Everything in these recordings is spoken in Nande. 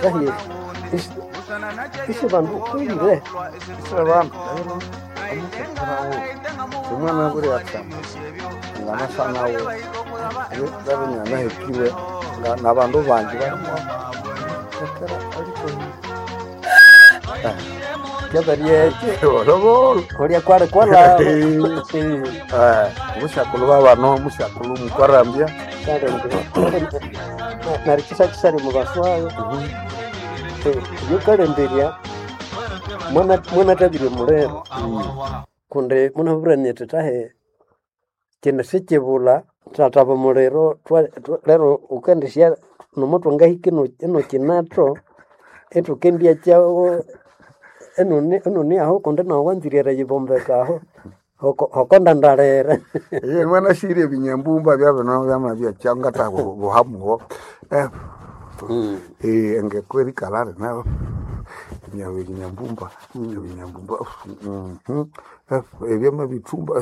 Kahi isi bandu kwilire Isi bandu omukekera omwana abere atsama nganasa nawe babiri inanahekirwe nabandu bangi barimukekera alikohi. Kyabaryekyo Bolobolo. olya kwali kwalaba. Omusyakulhu babano omusyakulhu mukwarambya. Neryo kyisakisali omubaso wayo yukalemberya mwanathabirye omuliro kundi munabwire nyithi thahi kino sikyibulha thathaba omuliro lero wukendisya nomo twangahika ino kinatho ithukendyakyagho inune aho kundi nawu wanzire eriyibombeka aho hokondandalire. Iye mwanasire ebinyambumba byabino byamabya kyangatha buhamuho. Engeko erikalha rina ebinyambumba ebinyambumba ebyamabithumba.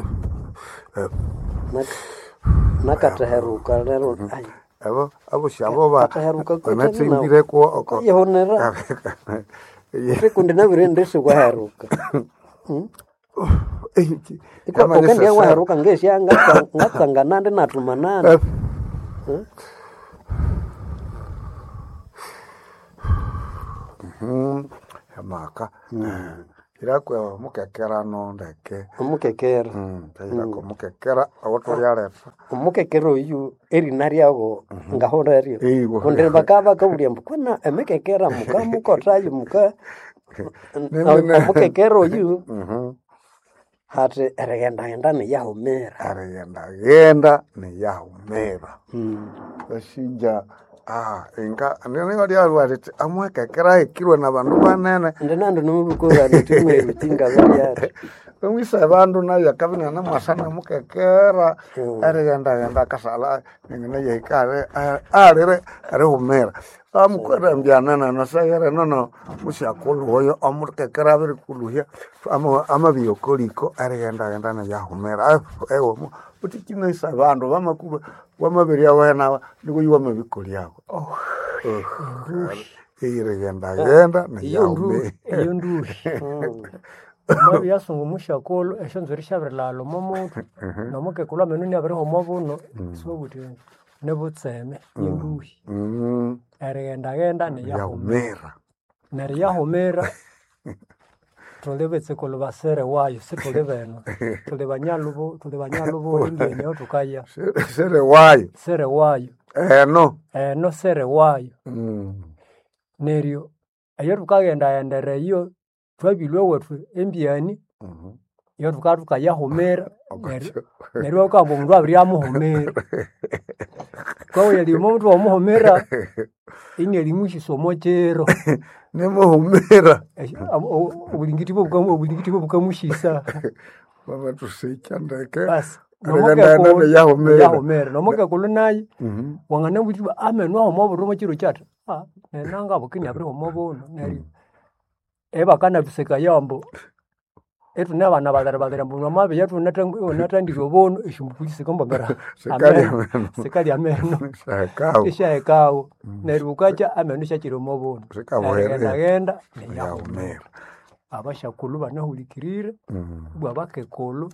Nakatheheruka lero Abo abosi abo Katheheruka banathimbireko yihunira kundi nabwire indi siwaheruka. Ukendya waheruka ngesya ngatsanganandi nathumanandi. Amaka irakwa omukekerano ndeke. Omukekera. Irakwa omukekera owathulialetha. Omukekera oyu erina ryago ngahulheryo Iwa. kundi bakabya bakabulya ambu kwana emikekera mukamukothayo muka omukekera oyu hathi erighendaghenda niyahumira. Erighendaghenda niyahumira. Wasinja inga ninilyalwa lithi omukekera ahekirwe nabandu banene. Indi nandi nomubukura nithi mweruki ngabalyathi. Omwisa abandu nayo akabya inanamwasa nomukekera erighendaghenda akasalha nayahika alire erihumira. Amukwarambya nana saghere nono musyakulhu oyo omukekera abirikulhuhya amabya okoliko erighendaghenda niyahumira. Ewa wuthi kinasa abandu bamakulhwa wamabiryawenawa niku oyu wamabikolyagho. Erighendaghenda niyahumira. Eyo nduhi. Wamabya yasunga omusyakulhu esyonzwiri syabirilhaghalha omo mutwe nomukekulhu amenu inabirihuma obuno isiwabugha wuthi nibutseme yenduhi. Erighendaghenda niyahumira. Niyahumira. Neryo yahumira thuli bitsukulhu basere wayo sithuli benu. Thuli banyalhubo thuli banyalhubo embyeni aho thukaya. Sere wayo. Sere wayo. Eno. Eno sere wayo. Neryo eyathukaghendaghendera eyo thwabilhwa ewethu embyani eyathukabya thukayahumira neryo neryo iwabugha ambu omundu abiryamuhumira. Ghukabugha erima omundu wamuhumira inalimusyisa omo kiro. Nimuhumira. Obulingiti bwabukamusyisa. Bamathusikya ndeke. Basi Erighendaghenda niyahumira. niyahumira. Nomukekulhu nayo wanganabugha wuthi amenu ahuma obuno omo kiro kyati nenanga buke inabirihuma obuno neryo ibakanathusekayo ambu ithune bana balere balere ambu wamabya iwunathandire obuno esyombulho sikambangara Sikalya ameno ameno. sikalya ameno. Syahekawo. Isyahekawo. Neryo bukakya ameno isyakyira omo buno. Sikabuherera. Erighendaghenda niyahumira. Niyahumira. Abasyakulhu banahulikirire ibwa abakekulhu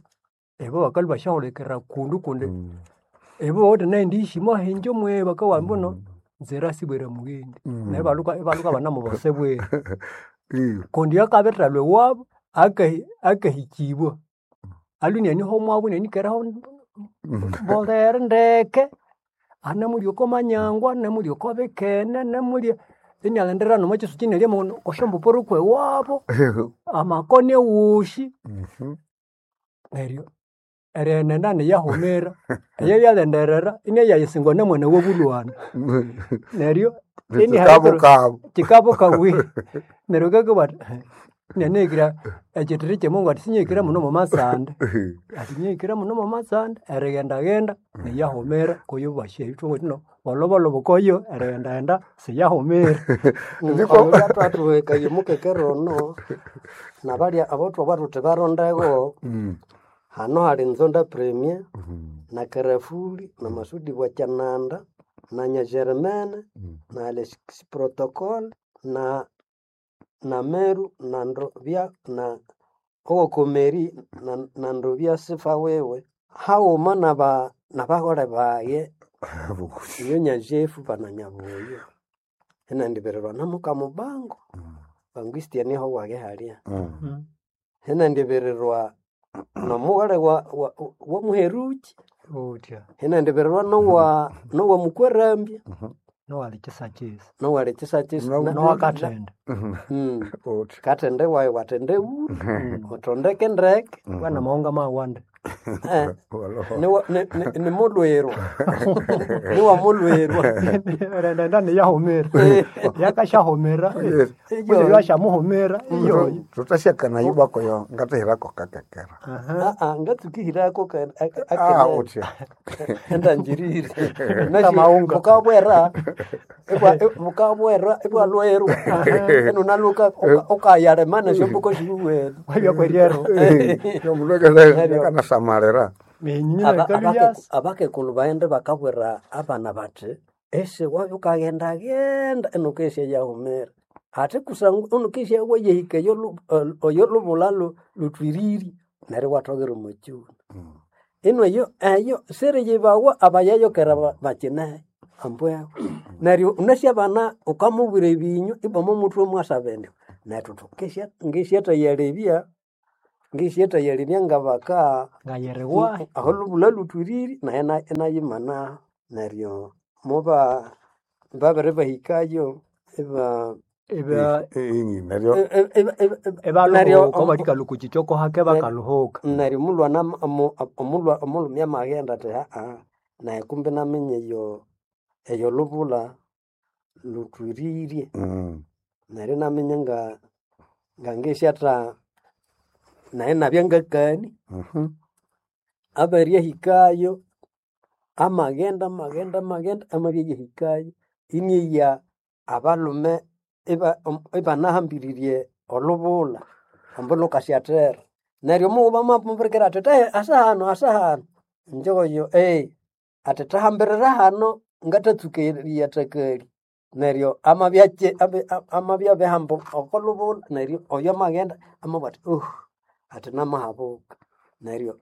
ibo bakalhwa basyahulikirira kundu kundi ibo bawithe nayindi heshima hinje mwe bakabugha ambu nzira sibwere mughendi. Neryo ibalhuka ibalhuka ibanamubasa bwere. Kundi akabithalhwa ewabu akahikibwa alwe inaniho omwabo inanikereho mbolere ndeke anemulya oko manyangwa, anemulya oko bikene, anemulya inalhendera nomo kyisukyi inalya okwa syombupuru kwewabo, amakoni awosi. Neryo erighendaghenda niyahumira eyabyalhenderera inayayisingwa namwana wabulhwana. Neryo Kikabukabu. kikabukabu neryo ngakabugha athi inanahikira ekyithiri kyemungu athi sinyahikira muno mwamasande athi nyahikira muno mwamatsande erighendaghenda niyahumira kuyo bwasya ithwawithe bolhobolho koyo erighendaghenda siyahumira. Oyo athuhekaye omukekera ono nabalya abathwabwa thuthi barondegho hano hali Nzonda Premier na Karafuli na Masudi Bwakyananda. na Nyagermene na Alexis Protocol na na Meru na Ndovya na Owokomeri na Ndovya sifa wewe haghuma naba nabahole baye iyo Nyajefu bana Nyabuyo inandibirirwa na Mukamubango Banguistia niho wage halia hinandibirirwa nomughole wa, wa Muheruki Utya hinandibirirwa nowa nowa Mukwerambya nowali kisakisa nowali kisakisa nowakathende katende wayi watende uru utondeke ndeke wana maunga mawande Eh, ni mulwirwa niwa mulwirwa rendenda niyahumira yakashahumira Iyo. yashamuhumira iyo tutasyakana yubakoyo ngatahirako kakekera Ah, ngatsukihirako ah utya endanjirire Kamaunga. mukabwera mukabwera ibwalwerwa enunaluka ukayalemana esyombuko sibuwene wabyakweriero yomulwekanasamalira minyina kaluyasi abakekulu baghende bakabwira abana bathi esi wabya ukaghendagenda enukesya yahumira ate kusangwa unukesya wayehika oyo lubula lutwiriri neryo iwathokera omokyuna ino eyo eyo siriyibawa abayayokera bakineyo ambweho neryo unasi abana ukamubwira ebinywa ibwama omuthwe mwasaba indi nethu thukesya ngesyatayalebya ngesyatayalebya ngabaka ngayeriwa aho lubula lutwiriri naye inayimana neryo muba babiri bahikayo iba iba neryo neryo ebaluhuka balikalukuchichoko hake bakaluhuka neryo omulwana omulhume amaghenda athi haa naye kumbe naminya eyo eyo lubula lutwiririe neryo inaminya nga ngangesyatha naye nabya ngakani abiryahikayo amaghenda amaghenda amaghenda amabya yahikayo inyeya abalhume ibanahambiririe olubula ambu lukasyathera neryo omughuma amamubirikira athi "Tahe, asa hano asa hano njoyo athi thahambirira hano ngatatsuka eriyathakali neryo amabya amabya abihamba oko lubula neryo oyo amaghenda amabugha athi athi namahabuka neryo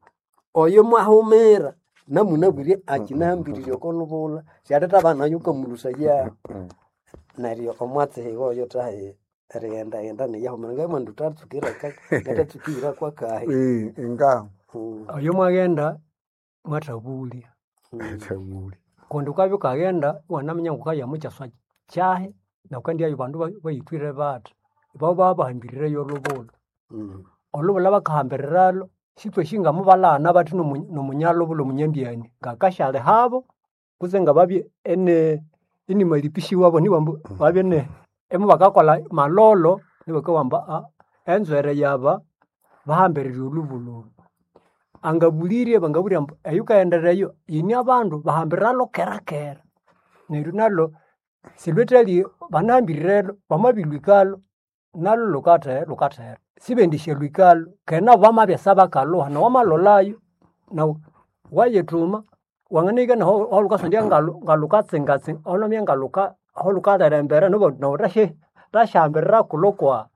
oyo mwahumira namunabwire akinahambirire oko lubula syalhetha nayo ukamulusaya neryo omwatsi oyo tahe erighendaghenda niyahumira ngamwandu tatsukira ngatatsukira kwakahi inga oyo mwaghenda mwathabulya thabuli kundi ukabya ukaghenda iwanaminya ngukaya mukyaswa kyahi nakandiayo bandu bayithwire bathi babo babahambirireyo olubula olubula bakahambiriralo sithwe ngamubalhana bathi nomunyalubula omunyambyani ngakasyali habo kutse ngababye ene inimalipisi wabo niwambu babye ne emubakakolha malolo nibakawamba enzwere yaba bahambirire olubula olu angabulirye bangabulya ambu eyukaghendereyo yini abandu bahambiralo kera kera neryo nalo silhwethali banahambiriro bamabilhwikalo nalo lukathe lukathera sibendisya lwikalo kena nabo bamabya sabakalhuha nawamalolayo nawu wayithuma wanganahika nahu aholhukasondya ngalukatsingatsinga aholwamabya ngaluka aholhukalherembera nawu thasyahambirira kulhu kwa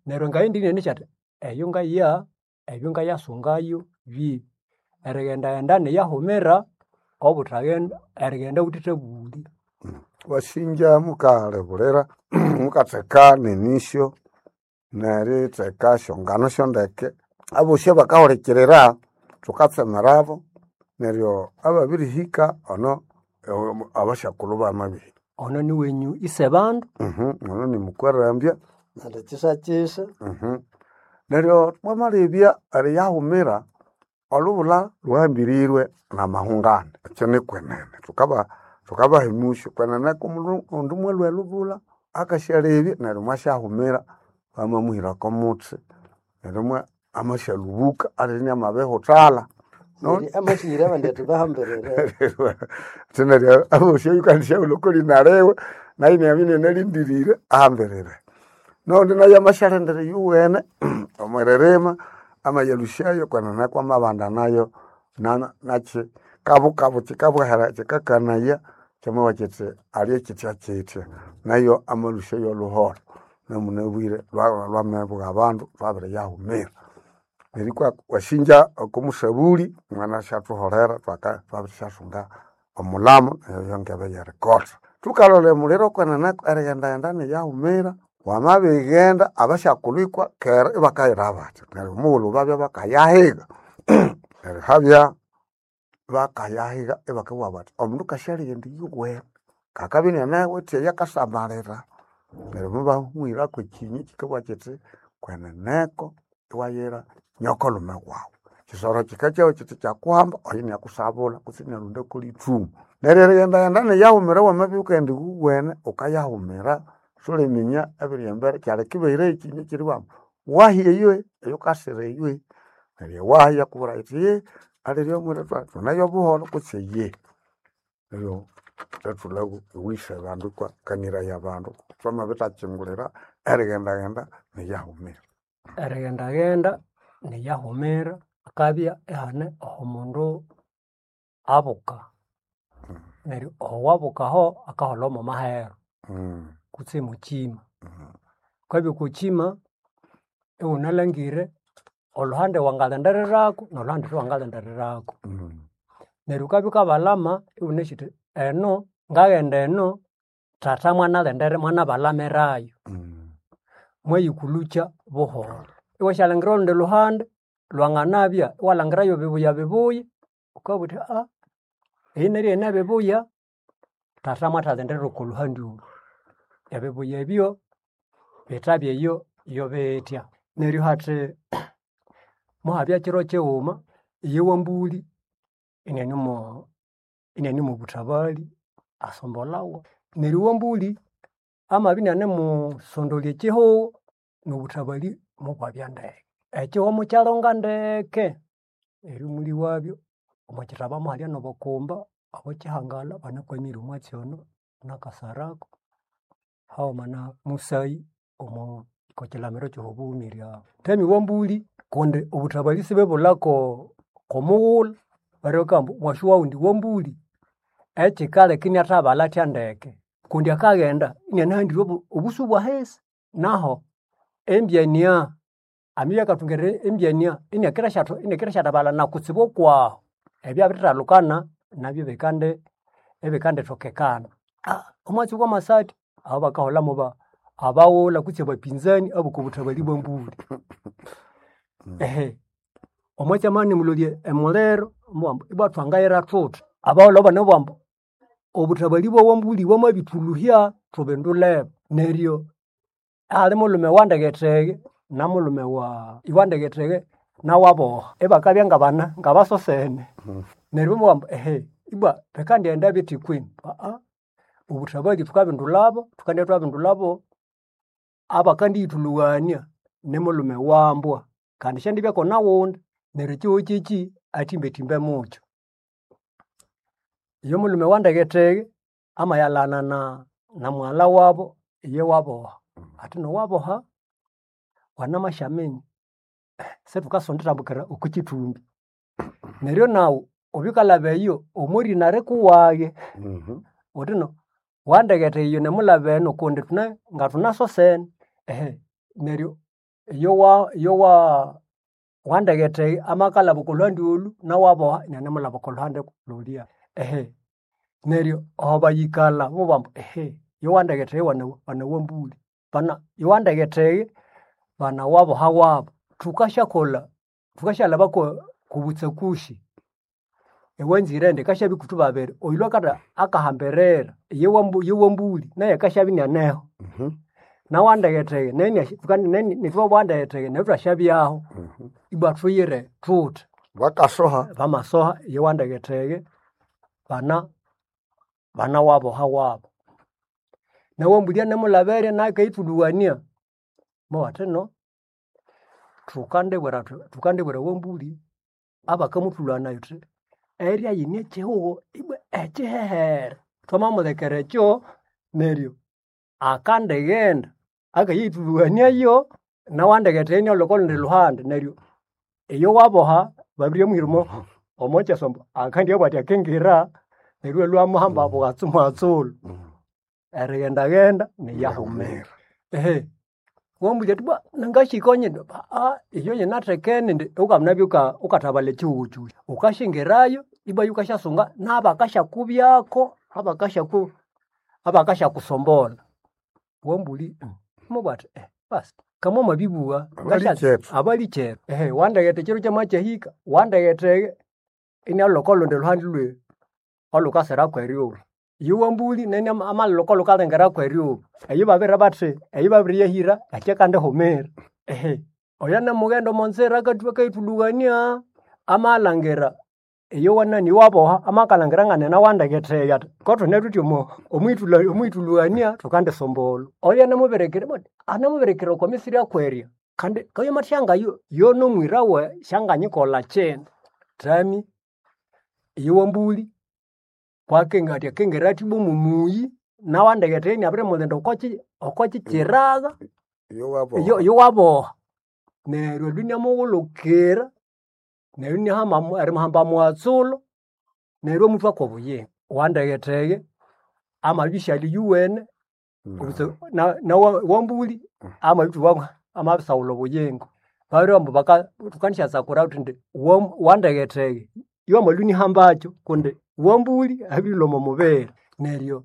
neryo ngayindi athi eyo ngaya ebyo ngayasungayo bibi erighendaghenda niyahumira obuthaghenda erighenda wuthithabulya wasinja mukalebulira mukatheka nenisyo neritheka syongano syondeke abosi abakahulikirira thukatsemerabo neryo ababirihika ono abasyakulhu bamabihika ono niwenyu isebandu ono nimukwerambya andi kyisakisa neryo mwamalebya eriyahumira olubula lhuhambirirwe namahungane ekyo nikwenene thukaba thukabahimusya kwenene omundu mwalhwa elubula akasyalebya neryo mwasyahumira bamamuhirako omuthi neryo amasyalubuka alini amabihuthalha Neryo amasyihira abandi athi bahambirire ati neryo abosi oyukandisyaghulha okolinaliwe nayo inabya inanalindirire ahambirire nondi nayo amasyalindira iyuwene omwiririma amayalhusyayo kwenene kwamabanda nayo nakyi kabukabu kyikabwahera kyikakanaya Kyamabugha kyithi alye kyithya kyithya nayo amalũsya y'olhuholho namunabwire lwamabugha abandu lwabiriyahumira. Neryo ikwa wasinja oko musabuli mwanashathuholera thwabirisyasunga omulamo eyo ngebe y'erikotha. Thukalolha emuliro kwenene erighendaghenda niyahumira, wamabighenda abasyakulhu ikwa kera ibakayira bathi neryo omughulhu babya bakayahiga neryo habya bakayahiga ibakabugha bathi omundu kasyalighenda iyowene kakabya inianawithe eyakasamalira. Neryo mubahumwirako ekyinyi kyikabugha kyithi kweneneko iwayira nyokolhume wawu. Kyisoro kyikakyagha kyithi kyakuhamba oyo iniakusabulha kutse iniarondako lithuma. Neryo erighendaghenda niyahumira wamabya wukaghenda iwuwene wukayahumira suliminya ebiri embere kyaleka ibahirayo ekyinyi ekyiribugha ambu wahi eyo eyukasira eyo. Neryo ewahi iyakubwira yithi alirye omwira thuneyo obuholho kutse iye. Neryo thwatholha iwisa abandu ikwa kaniraya abandu thwamabithakyingulira erighendaghenda niyahumira. Erighendaghenda niyahumira hakabya ihane aho omundu abuka. Neryo aho wabukaho akaholha mwa maheru kutse mwakyima. Wukabya okwa kyima iwunalhangire olhuhande wangalhendererako nolhuhande olhwangalhendererako. Neryo wukabya wukabalhama iwunasi wuthi eno ngaghenda eno thatha mwanalhendere mwanabalhamirayo. Mwayikulhukya buholho. Iwasyalhangira olhundi lhuhande lwanganabya iwalhangirayo bibuya bibuya wukabugha wuthi eyi neryo yine bibuya thatha mwathalhenderera oko lhuhandi olhu. Ebibuya ebyo bithabya eyo yobithya. Neryo hathi muhabya kyiro kyighuma iyo wambuli iniane mobuthabali asombolhawa. Neryo wambuli amabya inianimusondolya ekyihugho nobuthabali mubwabya ndeke. Ekyihugho mukyalonga ndeke neryo omulhi wabyo omwakyithaba muhalya nobukumba obwekyihangala banakwamire omwatsi ono nakasarako haghuma na musayi omo okwakyilhamiro kyobughumira aho. Thami wambuli kundi obuthabali sibibulha komughulhu neryo bakabugha ambu mwasi wawundi wambuli ekyikaleka iniathabalha athya ndeke kundi akaghenda inianahandire obusu bwahisi naho embyania amabya akathungira embyania iniakirashathabalha nakutsibu okwaho. Ebyo byabirithalukana nabyo bikandi ibikandithokekana. Omwatsi wamasati aho bakaholhamu abaghulha kutse abapinzani abokobuthabali bwambuli. Omwatsi amabya inimulolya emuliro mubugha ambu ibwa thwangayira thuthi. Abaghulha banamubugha ambu obuthabali bwawambuli bwamabithulhuhya thubindulebo. Neryo ahali mulhume wandegethege namulhume wa iwandegethege nawaboha ibakabya ngabana ngabasosene. Neryo bamabugha ambu ibwa bikandighenda bithi kwenu obuthabali thukabindulhabo thukandibya thwabindulhabo abakandiyithulhughania nimulhume wambwa kandi syandibya naghunda neryo ekyihugho kyekyi athimbathimbe mukyo. Iyo mulhume wandegethege amayalhana na mughalha wabo iye waboha athi nowaboha wanamasyaminya sithukasondithambukira oko kyithumbi. Neryo naghu wubye wukalhaba eyo omorina arikuwaghe wuthi no wandegethege iyo namulhaba eno kundi thune ngathunasosene. Neryo iyo wandegethege amakalhaba oko lhuhandi olhu nawaboha inianemulhaba oko lhuhandi lhulya. Neryo aho bayikalha mubabugha ambu yowandegethege wana wambuli bana yowandegethege bana waboha wabu. Thukasyakolha thukasyalhaba kobutsakusi ewanzire indi kasyabya ikuthwe babiri oyulhwe akahambirira iye wambuli naye akasyabya inianeho nawandegethege nithwe bwandegethege neryo ithwasyabyaho ibwa thuyire thuthi. Bakasoha. Bamasoha iye wandegethege bana bana waboha wabu. Nawambuli anemulhaberya nayo akayithulhughania mubabugha athi no thukandibwira thukandibwira wambuli abakamuthulhughania thuthi erya yine ekyihugho ibwa ekyihehere. Thwamamulekera ekyo neryo akandighenda akayithulhughaniayo nawandegethege inialhwa oko lundi lhuhandi neryo iyo waboha babiryamuhira omo kyaswa ambu akandyabugha athi akingira. Neryo lwamuhamba bwatsu mwatsulu. Erighenda-ghenda niyahumira. Ehe. Wambulya ati bwa nangashika nyine ah iyo yinathekene indi ukamunabya ukathabala ekihugho kyosi. Ukashingirayo ibwa yukasyasunga n'abakasyakubyako abakasyaku abakasyakusombolha. Wambuli mubwa athi basi kamwe mwabibugha Abalikyethu. abalikyethu. Ehe wandeghethe ekiro kyamakyahika wandeghethe inalhoka olundi lhuhandi lwe olhukasira kweryuba. Iyo wambuli nene amalhoka olhukalengera kweryuba. Eyo babere bathi eyo babiriyahira ekyakandihumira. Ehe oyo anamughenda omo nzira akayithulhughania amalhangira iyo wanani waboha amakalhangira nganene wandeghetheya athi kothune thuthi omo omwithulha omwithulhughania thukandisombolha. Oyo anamubirikira anamubirikira okwa misiri akwerya kandi kayo mathyangayo yo nomwira we syanganyikolha kinu. Thami iyo wambuli kwakenga athi akengera athi ibwa omumuyi nawandeghethe inabirimulinda okwa kyikyiraga Iyo waboha. iyo iyo waboha. Neryo olhu inamughulukira neryo inahamba erimuhamba mwatsulho neryo amuthwa kw'obuyingo. Wandeghethege amabya isyali yuwene na na wambuli amabithubwa amabisawulha obuyingo. Babiribugha ambu baka thukandisyasakura thuthi wandeghethege iwamalwa inihambakyo kundi wambuli abirilhwa omo mubiri. Neryo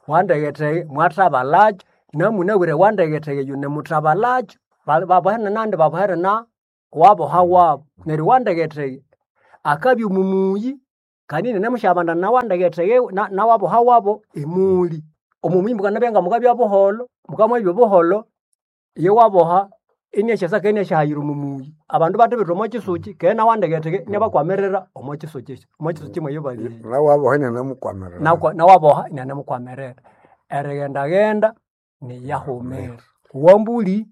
wandeghethege mwathabalhakyo namunabwire wandeghethege yune muthabalhakyo babohere nandi babohere na waboha wabo. Neryo wandeghethege akabya omumuyi kandi inanemusyabanda na wandeghethege na waboha wabo emuli. Omumuyi mukanabya nga mukabya buholho, mukamwabya obuholho iyo waboha iniasyasaka iniasyahayira omumuyi. Abandu bathibitha omo kyisuki keghe nawandeghethege iniabakwamirira omo kyisuki ekyo omo kyisuki mweyo bali eyo. Nawaboha inanamukwamirira. Nawaboha inianemukwamirira. Erighenda-ghenda niyahumira. Wambuli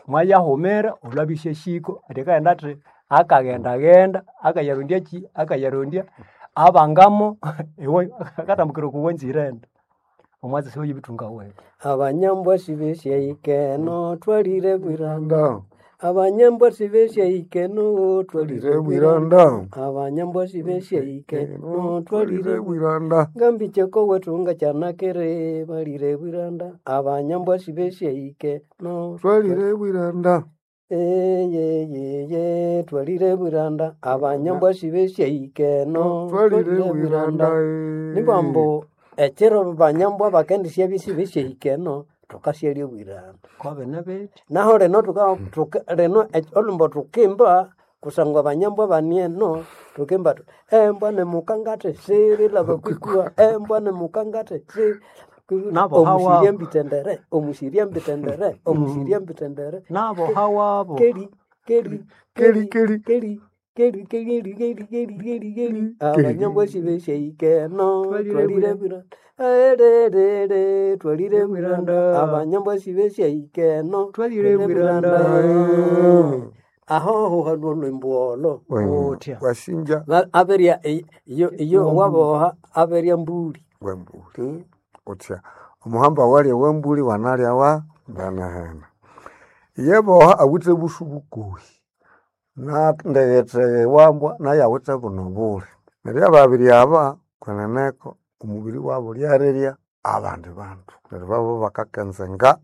mwayahumira olwabya isyahika athi akaghenda athi akaghenda-ghenda akayarondya kyi akayarondya abangamo akatambukira oko wanzire indi. Omwatsi siwayibithunga wewe. Abanyambwa sibesyaikeno twalire bwiranda. Nda. Abanyambwa sibesyaikeno twalire Twalire bwiranda. bwiranda. Abanyambwa sibesyaikeno twalire Twalire bwiranda. Ngambicheko wetu ngachanakere balire bwiranda. Abanyambwa sibesyaikeno Twalire bwiranda. Eyeyeye twalire bwiranda. Abanyambwa sibesyaikeno Twalire bwiranda. Nibambu ekiro banyambwa bakendisya bisibesyaikeno thukasyalya bwiranda. Kwabene bithi. Naho lino tuka, tuka lino olhumbo tukimba kusangwa banyambwa banieno tukimba tu embwa nemukangate sirilaba kwikua embwa nemukangate si Nabo hawa. omusirya mbitendere omusirya mbitendere omusirya mbitendere Naboha wabo. keri keri Keri, keri. keri keri keri keri keri keri keri abanyambwa sibesyaikeno Twalire twalire bwiranda ererere twalire bwiranda abanyambwa sibesyaikeno Twalire bwiranda. aho huhalwo olwimbo olo Otya. Wasinja aberya iyo iyo waboha aberya mbuli wembuli. Utya. Omuhamba walya wembuli wanalya wa mbanahena. Yeboha awithe busu bukuhi. Na ndeghetheghe wambwa naye awithe buno buli. Neryo ababiri aba kweneneko omubiri wabo lyarirya abandi bandu. Neryo babo bakakenzenga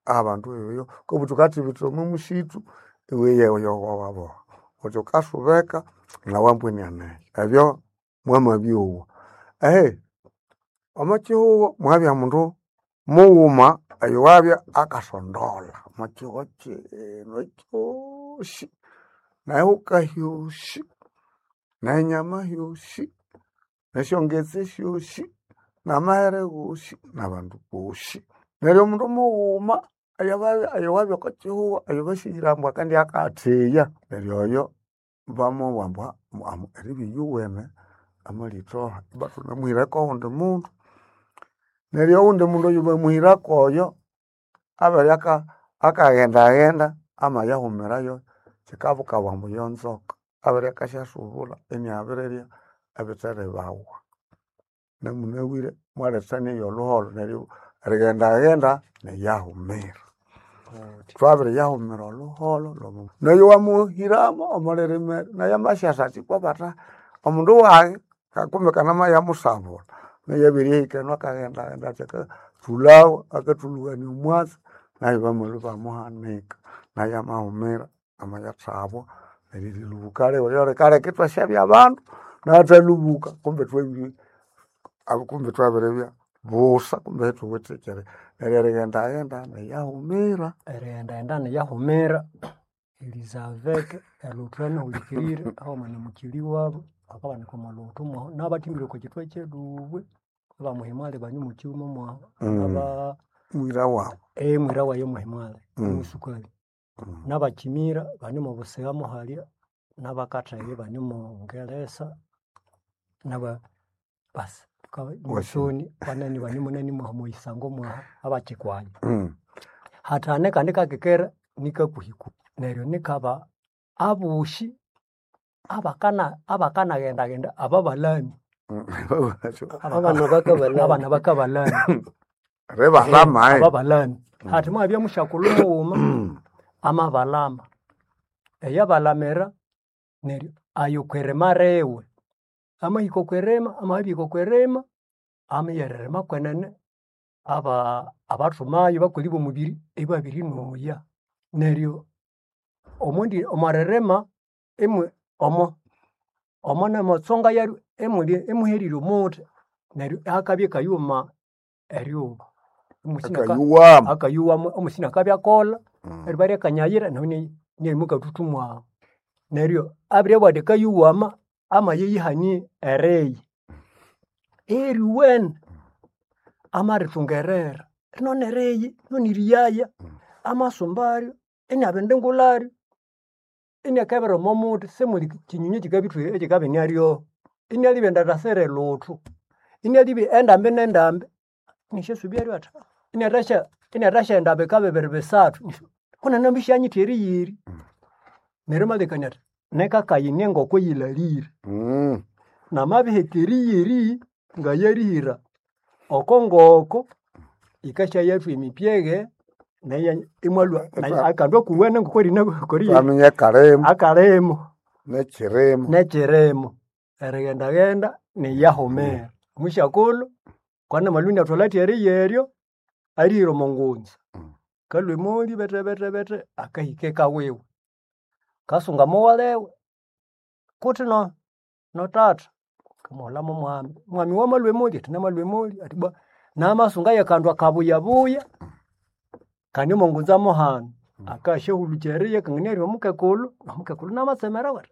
abandu eyo kobu thukathibitha omo musithu iwe yeyo waboha. Wuthi wukasubeka nawambwa inianeyo. Ebyo mwamabyowa. Ehe omo kihugho mwabya mundu mughuma oyowabya akasondolha omo kihugho kino kyosi nehuka hyosi nenyama hyosi nesyongetse syosi namahere gosi nabandu bosi. Neryo omundu mughuma oyowabya oko kihugho oyobasihire ambu akendibya akatheya neryo oyo bamubwira ambu eribya iyuwene amalithoha ibathunamuhirako owundi mundu. Neryo owundi mundu oyobamuhirako oyo abere akaghendaghenda amayahumirayo kyikabukawa ambu yonzoka abere akasyasubulha iniabirirya ebitheribawa. Namunabwire mwalethania eyolhuholho neryo erighendaghenda niyahumira. Thwabiriyahumira olhuholho noyo wamuhiramo omwalirimera nayo amasyasa athi kwabatha omundu wayi. Kumbe kanama yamusabula neyabirihika eno akaghenda athi akathulhawa akathulhugania omwatsi nayo bamalhwa ibamuhanika nayo amahumira amayathabwa neryo erilhubuka liwe lyolikaleka ithwasyabya abandu nathalhubuka kumbe twabiri kumbe twabiribya busa kumbe ithuwithe kyeri neryo erighendaghenda neyahumira. Erighendaghenda niyahumira Elizabeth elhuthani hulikirire haghuma na mukyali wabo bakabanika omo lhuthu mwahu nabathimbire okwa kyithwa kyelubwe abamuhimwali bane mukyuma mwahu aba Mwira wawu. Mwira wayi muhimwali omusukali nabakyimira bane omo busigha muhalya nabakatheghe bane omo ngelesa naba basi musoni banani bane munani mwaha omwisango mwaha abakyikwanya. Hathane kandi kakekera nikakuhiku neryo nikaba abosi abakana abakanaghendaghenda ababalami Abana bakabalami. Abana bakabalami. Ribalama Ababalami. Hathi mwabya musyakulhu mughuma amabalama. Eyabalamira neryo ayo kwirima riwe. Amahika okwirima, amabihika okwirima, amighererima kwenene aba abathumayo bakoli b'omubiri ibabirinoya. Neryo omundi omwaririma imwe omo omo nemotsonga yaryo imuli imuherire omuthi neryo akabya akayuma eryuba. Omusina Akayuwama. Akayuwama omusina akabya akolha eriba ryakanyayira nahu inyaimukathuthumwahu mwahu. Neryo abiribugha athi akayuwama amayiyihanie eriya. Eriwene amarithungerera noni eriyi noni eriyaya amasumbaryo inabindingularyo iniakebera omo muthi simuli kyinyonyi ekyikabithu ekyikabya inaryoho. Inialibya endatha siri lhuthu. Inialibya endambi nendambi iniasyasubyaryo athi iniathasya iniathasyaghenda bika bibiri bisathu kunene ambi syanyitha eriyiri. Neryo amalekania athi nekakayine ngoko yilalire. Namabiheka eriyiri ngayerihira oko ngoko yikasyayathwa emipyeghe nayo imwalhwa nayo akandu akuwene ngokorina Twaminya akalimo. Akalimo. Nekyirimo. Nekyirimo. Erighendaghenda niyahumira. Omusyakulhu kwana malhwa iniathwalha athi eriyeryo arihira omo ngunza. Kalhwa emoli bethe bethe bethe akahika eka wiwe. Kasunga mughalewe kuthi no nothatha kamughulha mwami, mwami wamalhwa emoli athi namalhwa emoli athi bwa namasunga yakandu akabuyabuya kandi omo ngunza muhanu. Akasyahulukya eriya kangana omukekulhu nomukekulhu namatsemera athi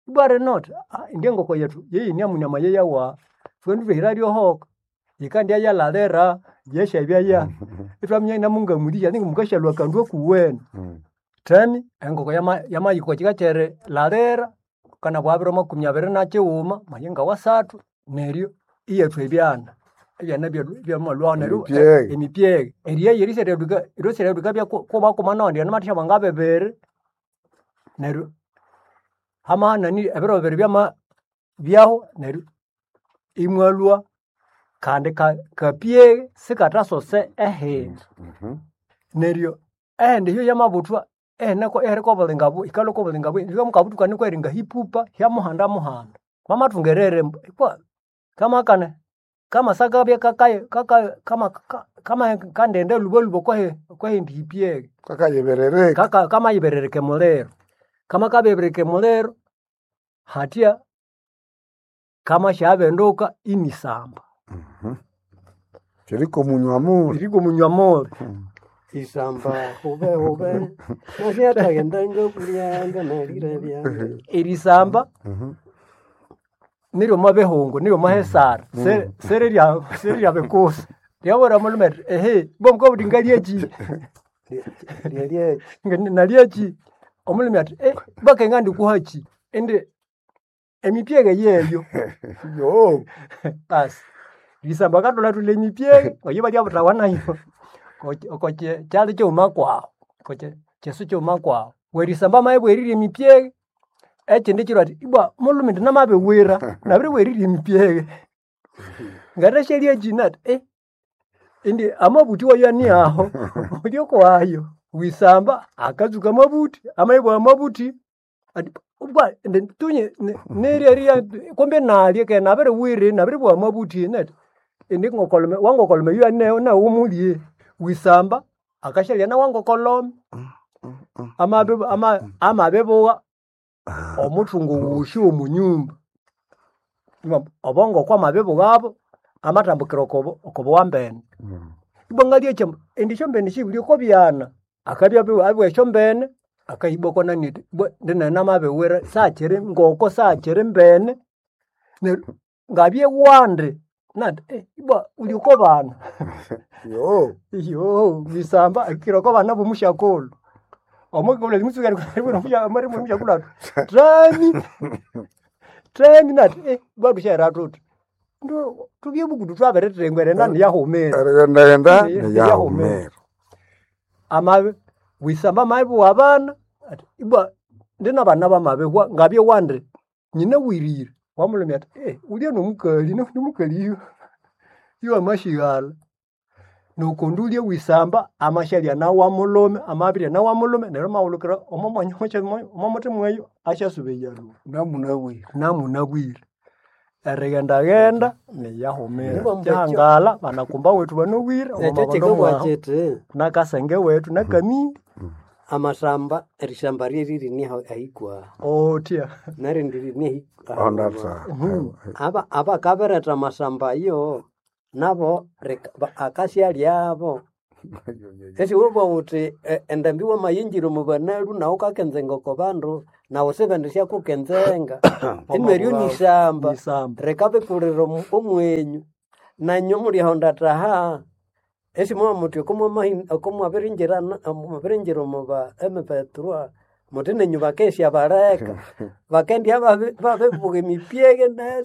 ibwa rino athi indye engoko yethu yeyinamune amayeya wawu thwende thwahira ryohoka yikandya yalalira yesyabya ya ithwaminya inamungamulihya ninga mukasyalhwa akandu akuwene. Theni engoko yamahika okwa kika kyerilalira kana bwa biro makumi abiri nakyighuma mayinga wasathu neryo iyathwa ebyana. Ebyana byamalhwaho neryo Emipyeghe. Emipyeghe. Eriya yerisyathadukka erisyathadukka kumakuma nawandi yanamathasyabwa ngabibiri neryo hamahanani ebiro bibiri byama byahu neryo imwalhwa kandi kapyeghe sikathasosa ehindi. Neryo ehindi eyo yamabuthwa ihiriko obulinga yikalhwa oko bulinga mukabuthuka nuko eri ngahipupa hyamuhanda muhanda. Wamathunga erere ikwa kamakane kamasakabya kama kandende lhubalhuba okwahindi hipyeghe. Kakayiberereka. Kamayiberereka emuliro. Kamakabireka emuliro hathya kamasyabenduka inisamba. Kiriko munywa muli. Kiriko munywa muli. Isamba hube hube nasyathagenda ngakulyanga nalire byanga. Erisamba niryo omwa bihungu niryo omwa hesara serirya bikusa. Ryabwira omulhume rithi ehe ibwa mukabugha muthi ngalyekyi? Lyalyekyi. Nalyekyi? Omulhume athi ibwa keghe ngandikuhakyi? Indi emipyeghe yeyo. Basi erisamba akathulatulha emipyeghe oyo balyabuthawa nayo oko kyalya kyighuma kwawu oko kyisu kyighuma kwawu. Werisamba amabya erirya emipyeghe ekyindi kyiro athi ibwa mulhume indi namabiwira nabiribugha erirya emipyeghe ngathasyalya kyi? Nathi indi amabuthi wayo aniaho wulye okwayo. Wisamba akatsuka amabuthi amabya amabuthi athi Ubwa tunye neryeria kumbe nalye ke nabiriwire nabiribugha amabuthi neti indi ngokolome wangokolome yu ane nawe umulye wisamba akashalya na wangokolome amabi ama amabibugha omuthungu wushi omunyumba. Obongo kwamabibughabo amatambukira okobo okobuwambene. Ibwa ngalya kyamba indi esyombene sibuli oko byana akabya abugha esyombene akahibwa oko nani ibwa indi namabiwira sakyiri ngoko sakyiri mbene neryo ngabye wandi nati ibwa wuli oko bana. Yo. Iyo wisamba akira oko bana bomusyakulhu. Omukulhu mutsuka eribwira omusyakulhu athi thami thami nati ibwa thusyahera thuthi ndu thubye bukutu thwabirithengwa erighenda niyahumira. Erighenda Niyahumira. niyahumira. Amabi wisamba amabibugha abana athi ibwa ndi nabana bamabihwa ngabye wandi nyinawirire. Wamulomya athi wulye nomukali nomukali yu amasyighalha. Nuku ulye wisamba amasyalya nawamulhume amabirya nawamulhume neryo amahulukira omo mwanya omo muthima weyu asyasuba eryalhuba. Namunabwire. Namunabwire. Erighendaghenda niyahumira. Nibwo mbekyo- Kyahangala banakumba wethu banowire omo Ekyo mabondo kikabugha mwahu kiti nakasenge wethu nakamindi amasamba erishamba ryeriri niho ahikwa otya. nerindi riri Ondata. aba abakabiretha amasamba ayo nabo akasyalyabo esiwubwa wuthi endambi wamayinjira omu banalu nawu ukakenzenga oko bandu nawu sibendisyakukenzenga ineryo nisamba Nisamba. rikabikulira omwenyu nanyu mulyahonda taha esimwa muthi okomwabiringira omu ba M23 muthi nenyu bakesya baleka bakendya babibuga emipyege nesi.